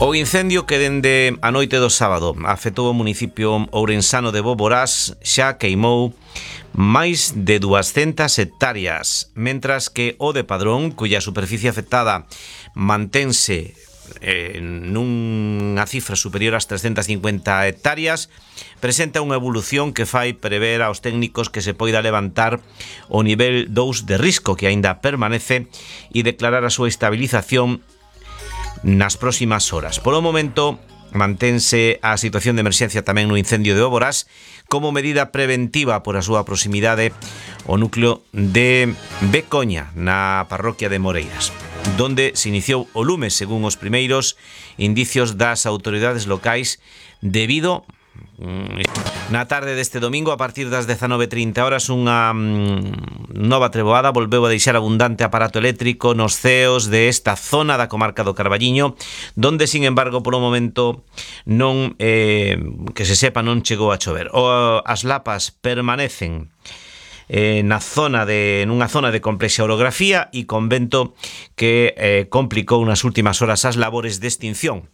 O incendio que dende a noite do sábado afectou o municipio ourensano de Boborás xa queimou máis de 200 hectáreas, mentras que o de Padrón, cuya superficie afectada mantense nunha cifra superior ás 350 hectáreas, presenta unha evolución que fai prever aos técnicos que se poida levantar o nivel 2 de risco, que aínda permanece, e declarar a súa estabilización nas próximas horas. Polo momento, mantense a situación de emerxencia tamén no incendio de Boborás como medida preventiva por a súa proximidade ao núcleo de Becoña, na parroquia de Moreiras, donde se iniciou o lume, según os primeiros indicios das autoridades locais, debido na tarde deste domingo, a partir das 19:30 horas, unha nova treboada volveu a deixar abundante aparato eléctrico nos ceos desta zona da comarca do Carballiño, donde, sin embargo, polo momento non, que se sepa, non chegou a chover. As lapas permanecen nunha zona de complexa orografía e con vento que complicou nas últimas horas as labores de extinción.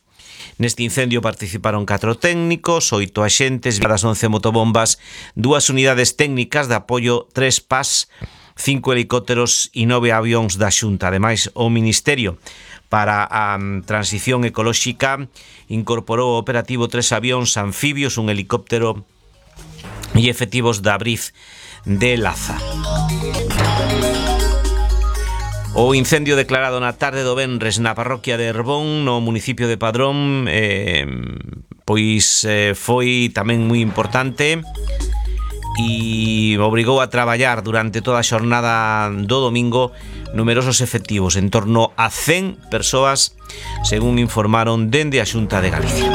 Neste incendio participaron 4 técnicos, 8 axentes, 11 motobombas, 2 unidades técnicas de apoio, 3 PAS, 5 helicópteros e 9 avións da Xunta. Ademais, o Ministerio para a Transición Ecolóxica incorporou ao operativo 3 avións anfibios, un helicóptero e efectivos da Briz de Laza. O incendio declarado na tarde do venres na parroquia de Herbón, no municipio de Padrón, foi tamén moi importante e obrigou a traballar durante toda a xornada do domingo numerosos efectivos, en torno a 100 persoas, según informaron dende a Xunta de Galicia.